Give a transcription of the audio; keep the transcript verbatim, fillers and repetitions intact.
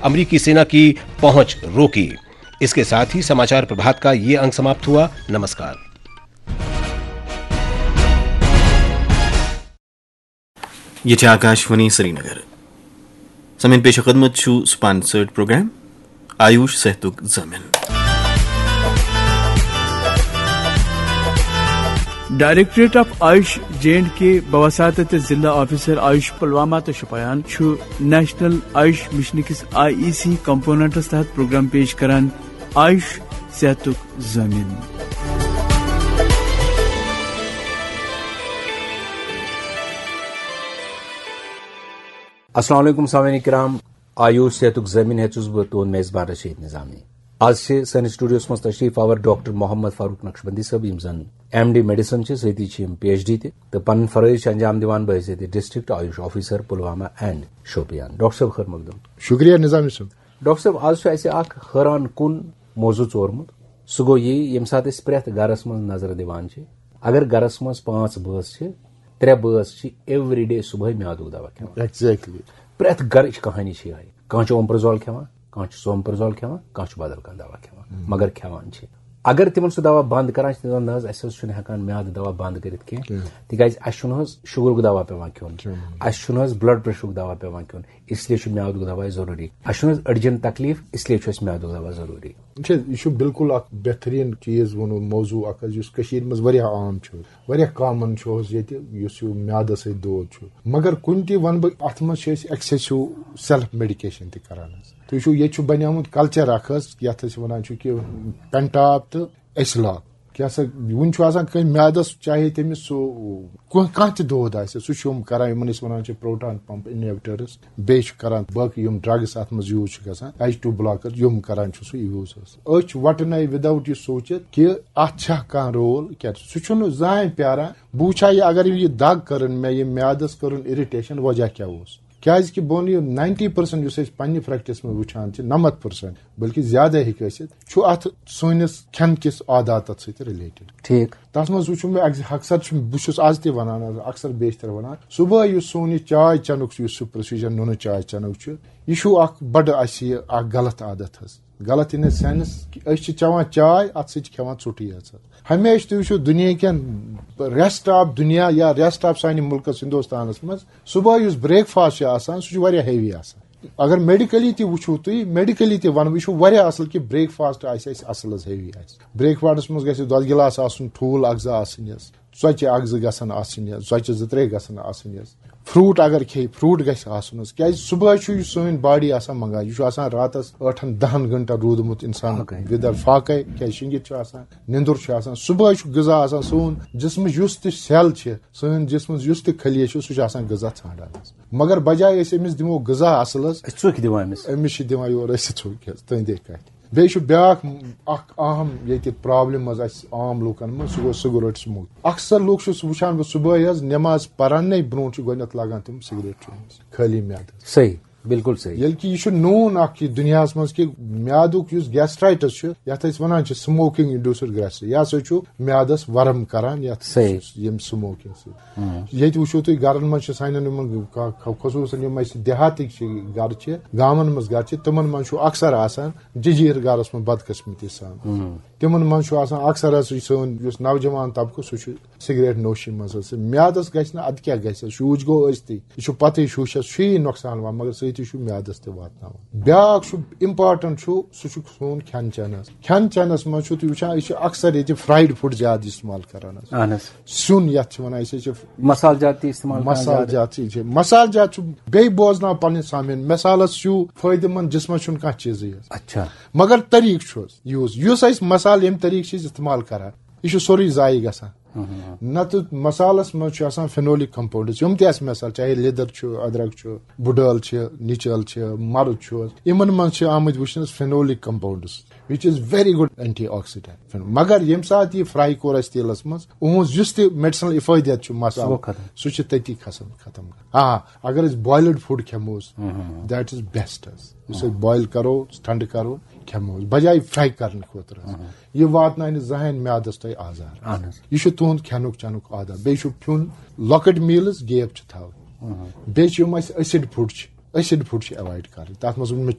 अमरीकी सेना की पहुंच रोकी। इसके साथ ही समाचार प्रभात का ये अंक समाप्त हुआ। नमस्कार। یہ چھِ آکاشوانی سرینگر۔ سامعین، پیش خدمت چھُ sponsored program آیوش صحتُک ضٲمِن۔ Directorate of AYUSH J and K بوساطت ضلع آفیسر آیوش پلوامہ تہٕ شوپیان چھُ نیشنل آیوش مشن کِس آئی ای سی کمپوننٹس تحت پروگرام پیش کران آیوش صحتُک ضٲمِن۔ السلام علیکم سامعین کرام، آیوش صحتُک ضٲمِن ہیٚژٕس بہٕ تُہُنٛد میزبان رشید نظامی۔ آز چھِ سٲنِس سٹوڈیوس منٛز تشریف آور ڈاکٹر محمد فاروق نقشبندی صٲب، یِم زن ایم ڈی میڈیسن چھِ، سۭتی چھِ یِم پی ایچ ڈی تہِ تہٕ پنٕنۍ فرٲیض چھِ انجام دِوان بحیثیت district AYUSH officer Pulwama and Shopian. Doctor صٲب، خٲر مقدم۔ شکریہ نظامی صٲب۔ ڈاکٹر صٲب، آز چھُ اَسہِ اکھ حٲران کُن موضوع ژورمُت۔ سُہ گوٚو یہِ، ییٚمہِ ساتہٕ أسۍ پرٛٮ۪تھ گرس منٛز نظرِ دِوان چھِ، اگر گرس منٛز پانٛژھ بٲژ چھِ، ترٛےٚ بٲژ چھِ ایوری ڈے صبحٲے میادُک دوا کھٮ۪وان۔ ایگزیکٹلی۔ پرٛٮ۪تھ گرٕچ کہانی چھِ یِہے۔ کانٛہہ چھُ اومپرزول کھٮ۪وان، کانٛہہ چھُ سومپرزول کھٮ۪وان، کانٛہہ چھُ بدل کانٛہہ دوا کھٮ۪وان، مگر کھٮ۪وان چھِ۔ اگر تِمن سُہ دوا بند کران چھِ، تِم دپان، "نہ حظ، اَسہِ حظ چھُنہٕ ہٮ۪کان میادٕ دوا بند کٔرِتھ کینٛہہ، کینٛہہ۔ تِکیازِ اَسہِ چھُنہٕ حظ شُگرُک دوا پٮ۪وان کھیوٚن، کھیوٚن۔ اَسہِ چھُنہٕ حظ بلڈ پریشرُک دوا پٮ۪وان کھیوٚن، اس لیے چھُ میادُک دوا ضروٗری۔ اَسہِ چھُنہٕ حظ أڈجن تکلیف، اس لیے چھُ اَسہِ میادُک دوا ضروٗری۔" وٕچھ حظ، یہِ چھُ بالکل اکھ بہتریٖن چیٖز ووٚنوٕ، موضوع اکھ حظ، یُس کٔشیٖرِ منٛز واریاہ عام چھُ، واریاہ کامن چھُ حظ ییٚتہِ، یُس یہِ میادس سۭتۍ دود چھُ۔ مگر کُنہِ تہِ وَنہٕ بہٕ، اَتھ منٛز چھِ أسۍ ایکسیسو سیلف میڈیکیشن تہِ کران حظ۔ تُہۍ وٕچھِو، ییٚتہِ چھُ بنیومُت کلچر اکھ حظ، یَتھ أسۍ وَنان چھِ کہِ پینٹاپ تہٕ ایسلاک۔ کیٛاہ سا، وُنہِ چھُ آسان کٲنٛسہِ میادس، چاہے تٔمِس سُہ کانٛہہ، کانٛہہ تہِ دود آسہِ، سُہ چھُ یِم کران، یِمن أسۍ وَنان چھِ پروٹان پمپ انہیبٹرس، بیٚیہِ چھُ کران باقٕے یِم ڈرگس اَتھ منٛز یوٗز چھِ گژھان، ایچ ٹو بلاکر، یِم کران چھُ سُہ یوٗز حظ۔ أچھ وٹنَے without یہِ سوٗنٛچِتھ کہِ اَتھ چھا کانٛہہ رول، کیٛاہ چھُ، سُہ چھُنہٕ زانٛہہ پیاران۔ بہٕ وٕچھٕ ہا یہِ، اگر یہِ دگ کٔرٕن مےٚ، یہِ میادس کٔرٕن اِرِٹیشن، وجہ کیٛاہ اوس؟ کیٛازِ کہِ بہٕ وَنہٕ یہِ، ناینٹی پٔرسنٹ یُس أسۍ پننہِ پریکٹس منٛز وٕچھان چھِ، نَمَتھ پٔرسنٹ بلکہِ زیادَے ہیٚکہِ ٲسِتھ، چھُ اَتھ سٲنِس کھٮ۪ن کِس عاداتَس سۭتۍ رِلیٹڈ۔ ٹھیٖک۔ تَتھ منٛز وٕچھُو مےٚ اکث-، اکثر چھُ، بہٕ چھُس آز تہِ وَنان، اکثر بیشتر وَنان، صُبحٲے یُس سون یہِ چاے چٮ۪نُک چھُ، یُس سُہ پروسیجر نُنہٕ چاے چٮ۪نُک چھُ، یہِ چھُ اکھ بڑٕ اَسہِ یہِ اکھ غلط عادت حظ۔ غلط in a sense کہِ أسۍ چھِ چٮ۪وان چاے، اَتھ سۭتۍ چھِ کھٮ۪وان ژوٚٹٕے یٲژ حظ۔ ہمیشہِ تُہۍ وٕچھِو دُنیا کٮ۪ن، rest of دُنیا یا rest of سانہِ مُلکَس ہِندوستانَس منٛز صُبحٲے یُس breakfast چھُ آسان، سُہ چھُ واریاہ heavy آسان۔ اگر میڈیکلی تہِ وٕچھِو تُہۍ، میڈیکلی تہِ وَنہٕ بہٕ، یہِ چھُ واریاہ اَصٕل کہِ breakfast آسہِ اَسہِ اَصٕل حظ، heavy آسہِ۔ breakfastس منٛز گژھِ دۄدٕ گِلاس آسُن، ٹھوٗل اَکھ زٕ آسٕنۍ حظ، ژۄچہِ اَکھ زٕ گژھن آسٕنۍ حظ، ژۄچہِ زٕ ترٛےٚ گژھن آسٕنۍ حظ۔ fruit اگر کھیٚیہِ، fruit گژھِ آسُن حظ، کیٛازِ صُبحٲے چھُ یہِ سٲنۍ body آسان منٛگان، یہِ چھُ آسان راتَس ٲٹھَن دَہَن گھنٹَن روٗدمُت اِنسان فاقے۔ وِدر فاقے، کیٛازِ شِنگِتھ چھُ آسان، نِندُر چھُ آسان۔ صُبحٲے چھُ غذا آسان، سون جسمٕچ یُس تہِ cell چھِ، سٲنۍ جسمٕچ یُس تہِ خلیہ چھُ، سُہ چھُ آسان غذا ژھانٛڈان حظ۔ مگر بجایہِ أسۍ أمِس دِمو غذا اَصٕل حظ، أسۍ ژوٚکۍ دِوان أمِس۔ أمِس چھِ دِوان یورٕ أسۍ ژوٚکۍ حظ، تُہنٛدے کَتھِ۔ بیٚیہِ چھُ بیٛاکھ اَکھ اَہَم ییٚتہِ problem حظ اَسہِ عام لوٗکَن منٛز، سُہ گوٚو cigarette smoke۔ اکثر لوٗکھ چھُس وٕچھان بہٕ صُبحٲے حظ نٮ۪ماز پَرنَے برونٛٹھ چھُ گۄڈٕنٮ۪تھ لاگان تِم cigarette چیوٚن حظ، خٲلی میادَس۔ صحیح، بِلکُل صحیح۔ ییٚلہِ کہِ یہِ چھُ known اَکھ یہِ دُنیاہَس منٛز کہِ میادُک یُس gastritis چھُ، یَتھ أسۍ وَنان چھِ smoking induced gastritis، یہِ ہسا چھُ میادَس ورم کران یَتھ صحیح۔ ییٚمہِ smoking سۭتۍ۔ ییٚتہِ وٕچھِو تُہۍ گرن منٛز چھِ سانٮ۪ن یِمن خ-، خ-، خصوٗصن یِم اَسہِ دیہاتٕکۍ چھِ گرٕ چھِ، گامن منٛز گرٕ چھِ، تِمن منٛز چھُ اکثر آسان ججیٖر گرس منٛز بدقٕسمتی سان۔ تِمن منٛز چھُ آسان اکثر حظ یہِ سٲنۍ یُس نوجوان طبقہٕ سُہ چھُ سگریٹ نوشی منٛز حظ۔ میادس گژھِ نہٕ، ادٕ کیٛاہ گژھِ؟ شوٗش گوٚو ٲسۍتٕے، یہِ چھُ پتہٕے شوٗشس چھُ یی نۄقصان واتان، مگر سۭتی چھُ میادس تہِ واتناوان۔ بیٛاکھ چھُ important چھُ، سُہ چھُ سون کھٮ۪ن چٮ۪ن حظ۔ کھٮ۪ن چٮ۪نس منٛز چھُو تُہۍ وٕچھان، أسۍ چھِ اکثر ییٚتہِ fried food زیادٕ استعمال کران حظ۔ اہن حظ۔ سیُن یتھ چھِ ونان أسۍ حظ چھِ مسالہٕ جات تہِ استعمال کران مسالہٕ زیادٕ۔ جات چھِ، چھِ۔ مسالہٕ جات چھُ بیٚیہِ بوزناو پنٕنۍ سامعین، مسالس چھُ فٲیدٕ مند، جسمس چھُنہٕ کانٛہہ چیٖزٕے حظ۔ اچھا۔ مگر طریٖقہٕ چھُ حظ یُس، یُس أسۍ مسالہٕ ییٚمہِ طریٖقہٕ چھِ أسۍ استعمال کران، یہِ چھُ سورُے ضایع گژھان۔ نتہٕ مسالس منٛز چھُ آسان phenolic compounds، یِم تہِ آسہِ مثال، چاہے لیٚدٕر چھُ، ادرک چھُ، بُڈٲل چھِ، نِچل چھِ، مرٕژ چھُ حظ، یِمن منٛز چھِ آمٕتۍ وٕچھنس phenolic compounds، which is very good antioxidant۔ مگر ییٚمہِ ساتہٕ یہِ fry کوٚر اَسہِ تیٖلَس منٛز، اُہُنٛد یُس تہِ medicinal افٲدیت چھُ سُہ گوٚو مصالہٕ، ختم۔ سُہ چھُ تٔتی کھسان، ختم گژھان۔ آ، اگر أسۍ boiled food کھٮ۪مو، that is best حظ۔ یُس أسۍ boil کرو، ٹھنڈٕ کرو، کھٮ۪مو، بجایہِ fry کرنہٕ خٲطرٕ حظ۔ یہِ واتناونہِ زٕہٕنۍ میادس تۄہہِ آزار۔ اہن حظ۔ یہِ چھُ تُہُنٛد کھٮ۪نُک چٮ۪نُک عادت۔ بیٚیہِ چھُ کھیوٚن، لۄکٕٹۍ meals gap چھِ تھاوٕنۍ۔ بیٚیہِ چھِ یِم اَسہِ acid food چھِ، acid food چھِ avoid کرٕنۍ۔ تَتھ منٛز ووٚن مےٚ